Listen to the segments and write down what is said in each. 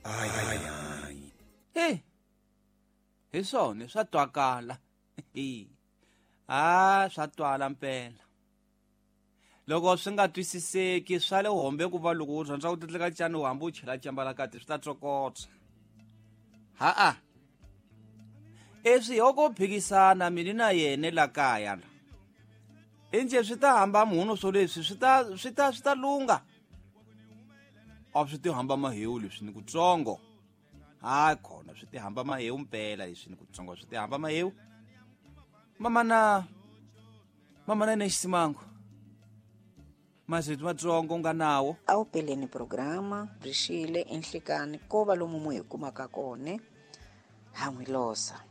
Ai. Hey. Hi swona swa twakala. Ah, swa twala mpela. Loko swi nga twisiseki swa le hombe ku va loko u rhandza ku titleka cani u hambi u chela cambala kati swi ta tsokotsa. Ha-a. Eswi hoko phikisana mina na yena la kaya la. Inje swi ta hamba munhu swo leswi swi ta lunga. A swi ti hamba mahewu leswi ni kutsongo. Hayi khona swi ti hamba mahewu mpela leswi ni kutsongo swi ti hamba mahewu. Mama na nexisimango. Mazito matsongo nga nawo. A wu peleni programa byi enhlikani ko va lomu mu hi kumaka kona ha n'wi losa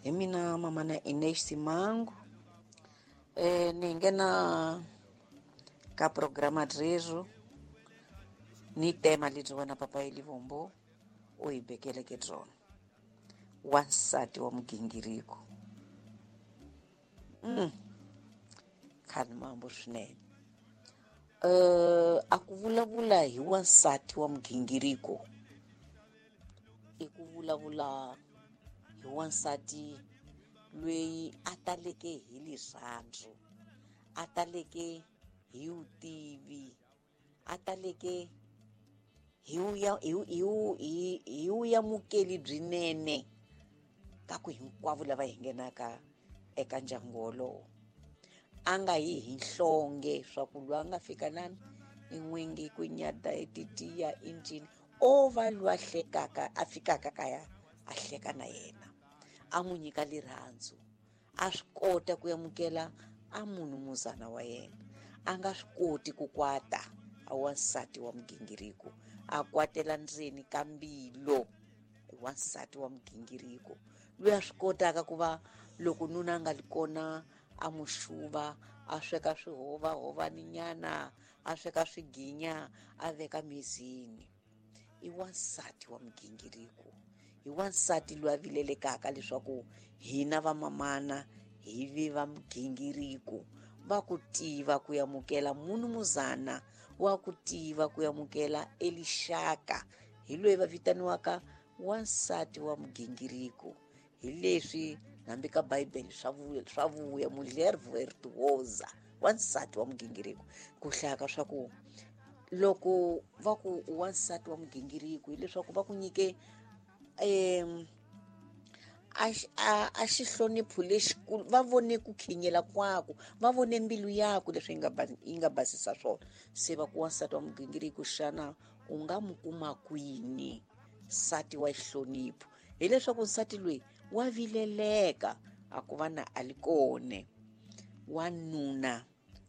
hi mina mamana Ines Simango. Ni nghena ka programa rero ni tema lebyi wena papa Elivombo u hi bekeleke byona, wansati wa mugingiriko. Khani mambo swinene. A ku vulavula hi wansati wa mugingiriko i ku vulavula hi wansati loyi a taleke hi rirhandzu, a taleke hi vutivi, a taleke hi hi vuyamukeli byinene ka ku hinkwavo lava hi nghenaka eka ndyangu wolowo. A nga yi hi nhlonge swa ku loyi a nga fika lani i n'wingi ku nyada i titiya i ncini, o va loyi a hlekaka, a fikaka kaya a hleka na yena, a n'wi nyika rirhandzu, a swi kota ku amukela a munhu muzana wa yena. A nga swi koti ku kwata a wansati wa mugingiriko, a kwatela ndzeni ka mbilu. Wansati wa mugingiriko loyi a swi kotaka ku va loko nuna a nga li kona a n'wi xuva, a sweka swihovahovaninyana, a sweka swiginya, a veka mizini. I wansati wa mugingiriko, i wansati loyi a vilelekaka leswaku hina vamamana hi vi va mugingiriko va ku tiva ku amukela munhu muzana, wa ku tiva ku amukela elixaka. Hi loyi va vitaniwaka wansati wa mugingiriko. Hi leswi hambi ka Bibele swa vuya mulher virtuosa, wansati wa mugingiriko. Ku hlaya ka swa ku loko va ku wansati wa mugingiriko hileswaku va ku nyike a xihlonipho lexikulu, va vone ku khinyela kwaku, va vone mbilu yaku leswi yi nga basisa swona, se va ku wansati wa mugingiriko. Xana u nga mu kuma kwini nsati wa xihlonipho? Hileswaku nsati loyi wa vileleka a ku va na a li kone, wanuna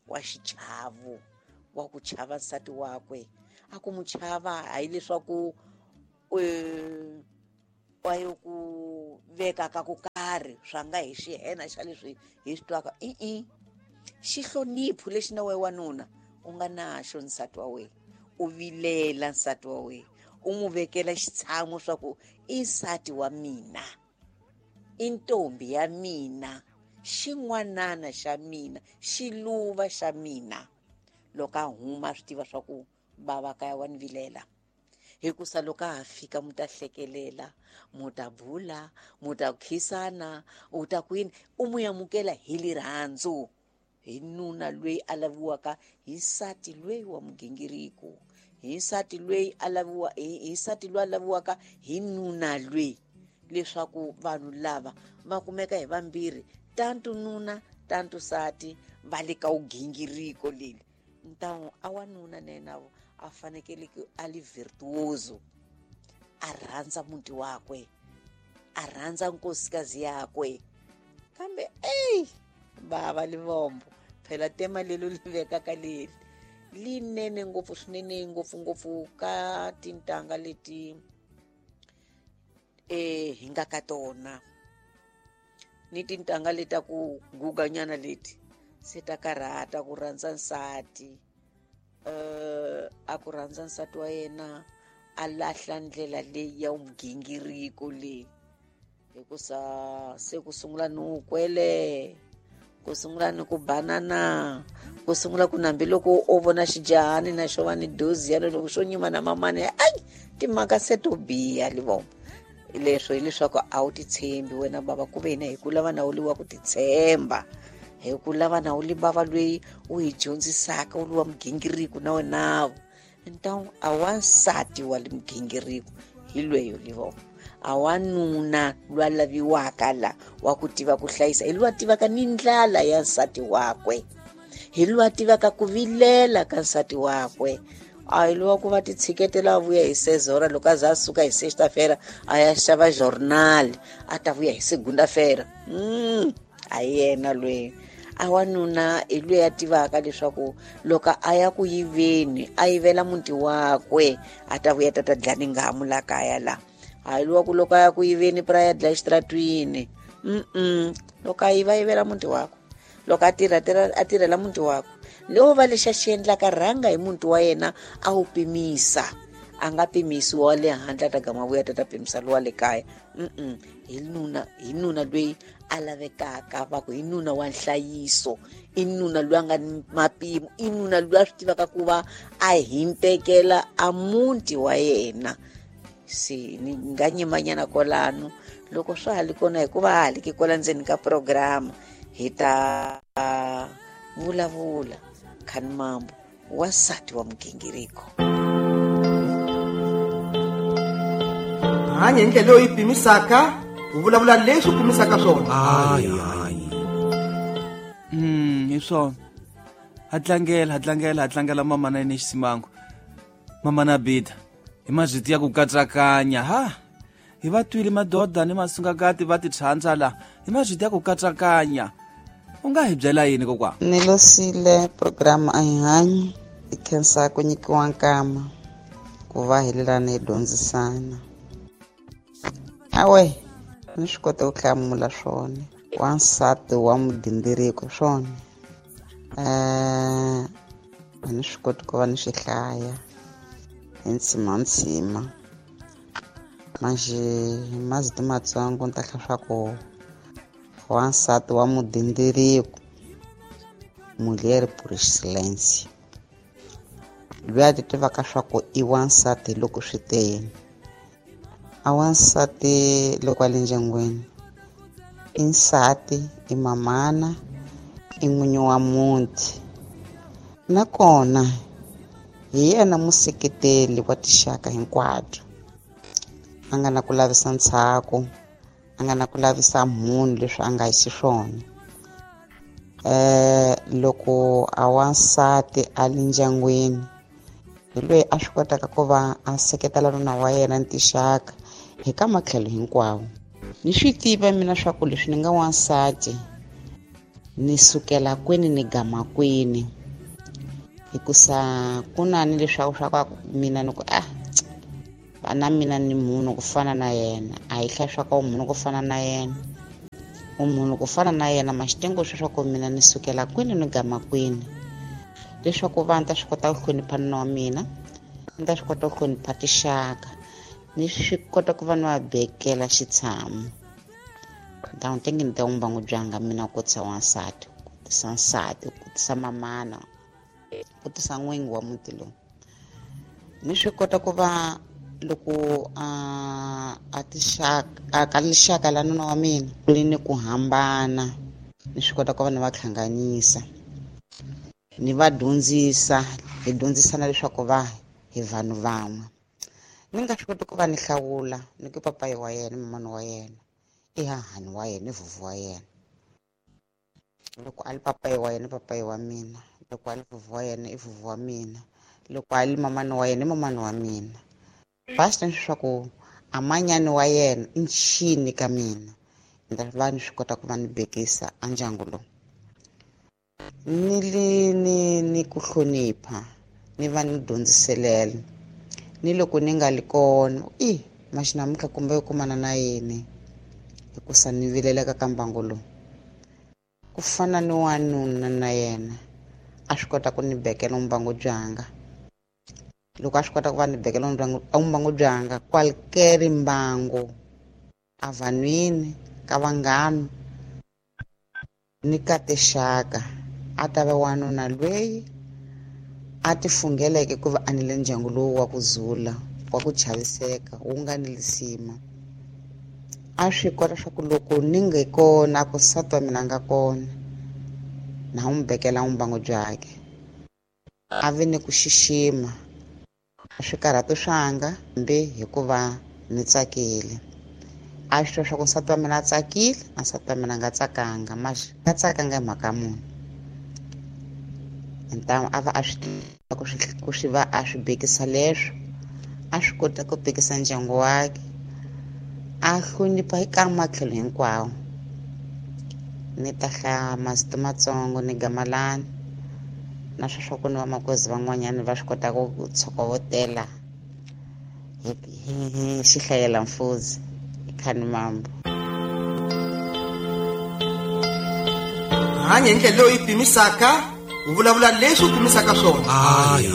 wa xichavo, wa ku chava nsati wakwe. A ku mu chava hayi leswaku wa yo ku veka ka ku karhi swa nga hi xihena xa leswi hi swi twaka i xihlonipho lexi na we wanuna u nga naxo nsati wa wena, u vilela nsati wa wena, u n'wi vekela xitshamo swa ku i nsati wa mina, i ntombi ya mina, xin'wanana xa mina, xiluva xa mina. Loko a huma a swi tiva swa ku bava kaya wa ni vilela, hikusa loko a ha fika mu ta hlekelela, mu ta bula, mu ta khisana, u ta kwini, u mu amukela hi rirhandzu. Hi nuna loyi a laviwaka hi nsati loyi wa mugingiriko, hi nsati loyi a laviwa hi nsati loyi a laviwaka hi nuna loyi, leswaku vanhu lava va kumeka hi vambirhi, tantu nuna tantu nsati, va le ka wugingiriko leli. Ntawu a wanuna na yena a fanekele ku a li virtuoso, a rhandza muti wakwe, a rhandza nkosikazi yakwe. Kambe eyi bava Livombo, phela tema lelo li vekaka leri linene ngopfu swinene, ngopfungopfu ka tintanga leti hi nga ka tona, ni tintanga leta ku guganyana leti se ta karhata ku rhandza nsati. A ku rhandza nsati wa yena, a lahla ndlela leyi ya mugingiriko leyi, hikusa se ku sungula ni wukwele. Ku sungula ni ku banana, ku sungula ku nambi loko o vona xijahani na xo va ni dozi yalo loko xo nyima na mamani, ai timhaka se to biha livombo. Leswo hileswaku a wu titshembi wena bava, ku ve hina hi ku lava na wu li wa ku titshemba, hi ku lava na wu li bava loyi u hi dyondzisaka, u li wa mugingiriko na wenavo. Então a wansati wa le mugingiriko hi lweyo livombo, a wanuna lwa laviwaka la wa ku tiva ku hlayisa, hi lwa tivaka ni ndlala ya nsati wakwe, hi lwa tivaka ku vilela ka nsati wakwe. A hi lwa ku va titshiketela a vuya hi sezora, loko a za a suka hi sexta-feira a ya xava journal, a ta vuya hi segunda-feira. A hi yena lweyi. A wanuna hi lweyi a tivaka leswaku loko a ya ku yiveni a yivela muti wakwe, a ta vuya ta ta dlaya ni ngamu la kaya la. A hi lwa ku loko a ya ku yiveni pra ya dlaya exitratwini. Loko a yiva, a yivela muti wakwe, loko a tirha, a tirhela muti wakwe. Leo va lexi a xi endlaka rhanga hi muti wa yena a wu pimisa, a nga pimisi wa le handle a ta gama vuya ta ta pimisa lowa le kaya. Hi nuna, hi nuna loyi a lavekaka, va ku hi nuna wa nhlayiso, i nuna loyi a nga ni mapimo, i nuna loyi a swi tivaka ku va a hintekela a muti wa yena. Se ni nga nyimanyana kwalano loko swa ha li kona, hikuva ha ha li ki kwala ndzeni ka programa hi ta vulavula khani mambo wansati wa mugingiriko. Hanya hi ndlela leyi pimisaka, u vulavula leswi u pimisaka swona. Hayi, hayi. Hi swona. Ha tlangela, ha tlangela, ha tlangela mama na yena Xisimango. Mama na Bida. Hi mazwiti ya ku katsakanya, ha. Hi va twile madoda ni masungakati va titshandza la. Hi mazwiti ya ku katsakanya. U nga hi byela yini kokwa? Ni losile program a hi hanyi, hi khensa ku nyikiwa nkama ku va hi lelana hi dyondzisana. Awe, ni swi kota ku hlamula swona. Wansati wa mudindiriko swona. A ni swi koti ku va ni swi hlaya hi ntshima ntshima. Manjhe hi mazito matsongo ni ta hlaya swa ku wansati wa mudindiriko, mulher por excelência. Loyi a ti tivaka swa ku i wansati loko swi tele. A wansati loko a le ndyangwini i nsati, i mamana, i n'winyi wa muti. Nakona hi yena museketeli wa tinxaka hinkwato. A nga na ku lavisa ntshaku, a nga na ku lavisa munhu leswi a nga hi xiswona. Loko a wansati a le ndyangwini, hi loyi a swi kotaka ku va a seketela nuna wa yena ni tinxaka hi ka matlhelo hinkwawo. Ni swi tiva mina swa ku leswi ni nga wansati, ni sukela kwini ni gama kwini. Hikusa ku na ni leswaku swa ku mina ni ku, vana mina ni munhu ku fana na yena, a hi hlaya swa ku munhu ku fana na yena. U munhu ku fana na yena, ma xi tengo swa ku mina ni sukela kwini ni gama kwini. Leswaku va ni ta swi kota ku hlonipha nuna wa mina, ni ta swi kota ku hlonipha tinxaka, ni swi kota ku va ni va bekela xitshamo. Ni ta n'wi tengi ni ta n'wi mbangu byanga mina ku tisa wansati, ku tisa nsati, ku tisa mamana, ku tisa n'wingi wa muti lowu. Ni swi kota ku va loko a tixaka, a ka lixaka la nuna wa mina, ku ri ni ku hambana, ni swi kota ku va ni va hlanganisa, ni va dyondzisa, hi dyondzisana leswaku va hi vanhu van'we. Ni nga swi koti ku va ni hlawula ni ku papayi wa yena, mamani wa yena, i hahani wa yena, i vuvu wa yena. Loko a li papayi wa yena, papayi wa mina. Loko a li vuvu wa yena, i vuvu wa mina. Loko a li mamani wa yena, i mamani wa mina. Basta leswaku a manyani wa yena i nchini ka mina, ni ta va ni swi kota ku va ni bekisa a ndyangu lowu. Ni li ni ku hlonipha, ni va ni dyondziselela. Ni loko ni nga li kona, i maxi namuntlha kumbe kumana na yini, hikusa ni vileleka ka mbangu lowu. Ku fana ni wanuna na yena a swi kota ku ni bekela mbangu byanga. Loko a swi kota ku va ni bekela mbangu byanga, qualquer mbangu, a vanhwini, ka vanghana, Ni ka tinxaka a ta va wanuna loyi a ti fungheleke ku va a nile ndyangu lowu wa ku zula, wa ku chaviseka, wu nga ni lisima. A swi kota swa ku loko ni nge kona ku nsati wa mina a nga kona, na n'wi bekela vumbangu byakhe. A vi ni ku xixima swikarhato swanga hambi hikuva ni tsakile. A swi twa swa ku nsati wa mina a tsakile, na nsati wa mina a nga tsakanga, nga tsakanga hi mhaka muni. Ntamu a va a swi tiva ku swi va a swi bekisa leswo, a swi kota ku bekisa ndyangu wakhe, a hlonipha eka matlhelo hinkwawo. Ni ta hlaya masiku matsongo ni gamalani na sweswo ku ni vamakwerhu van'wanyana va swi kota ku tshokovotela hi xihlayela mfuzi khani mambo. Hanya hi ndlela leyi pimisaka, u vulavula leswi u pimisaka swona. Hayi.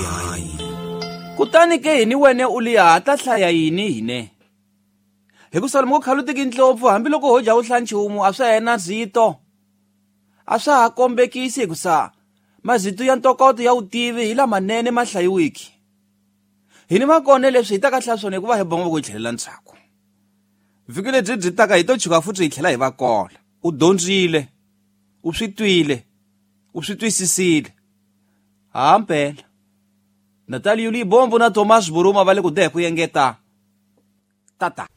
Kutani ke hini wene u liya ta hlaya yini hine? Hi ku Salomo ku khalutiki ndlopfu hambiloko ho dya u hlaya nchumu a swa yena zito. A swa ha kombekisi hi ku sa mazito ya ntokoto ya vutivi hi lamanene ma hlayiwiki. Hini makone leswi hi ta ka hlaya swona hikuva hi bonga ku hi tlhelela ndzhaku. Vhiki lebyi byi taka hi to chuka futhi hi tlhela hi va kola. U dyondzile, u swi twile, u swi twisisile. Hampela. Natalia Yuli Bombo na Thomas Buruma va le ku dehe ku engeta. Tata.